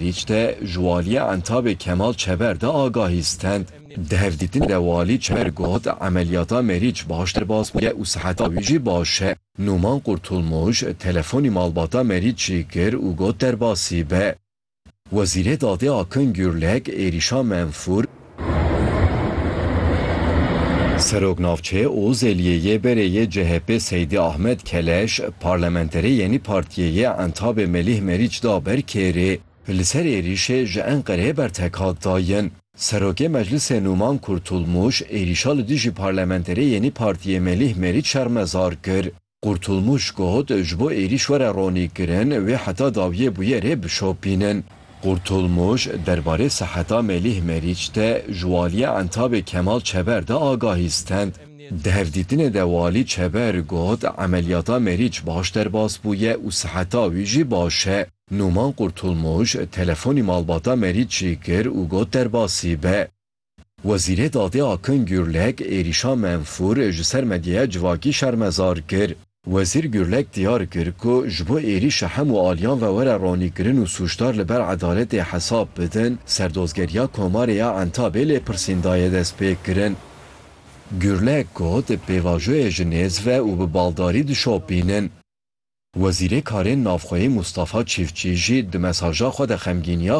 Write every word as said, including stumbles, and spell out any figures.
Meriç de ji waliyê Entabê Kemal Çeber de agahî stend. Di hevdîtinê de walî Çeber got, emeliyata Meriç baş derbas bûye û siheta wî jî baş e. Nûman Kurtulmuş telefonî malbata Meriç jî kir û got derbasî be. Wezîrê Dadê Akın Gürlek êrîşa menfûr Serok Navçeyê Ozeliyê yê berê yê C H P Seydî Ahmet Keleş, parlamenterê Yenî Partiyê yê Entabê Melîh Meriç da ber kêrê. Li ser êrîşê ji Enqereyê bertek hat dayîn. Serokê Meclisê Nûman Kurtulmuş êrîşa li dijî parlamenterê Yenî Partiyê Melîh Meriç şermezar kir. Kurtulmuş got, ji bo êrîş were ronîkirin, wê heta dawiyê bûyerê bişopînin. Kurtulmuş derbarê siheta Melîh Meriç de ji waliyê Entabê Kemal Çeber de agahî stend. Di hevdîtinê de walî Çeber got, emeliyata Meriç baş derbas bûye û siheta wî jî baş e. Nûman Kurtulmuş telefonî malbata Meriç jî kir û got derbasî be. Wezîrê Dadê Akın Gürlek êrîşa menfûr ji ser medyaya civakî şermezar kir. Wezîr Gürlek diyar kir ku ji bo êrîşa hemû aliyan ve were ronîkirin û sûcdar li ber edaletê hesab bidin, serdozgeriya Komarê ya Entabê lêpirsîn daye destpêkirin. Gürlek got, pêvajoyê ji nêz ve û bi baldarî dişopînin. Wezîrê Karên Navxweyî Mustafa Çiftçî jî di mesaja xwe de xemgîniya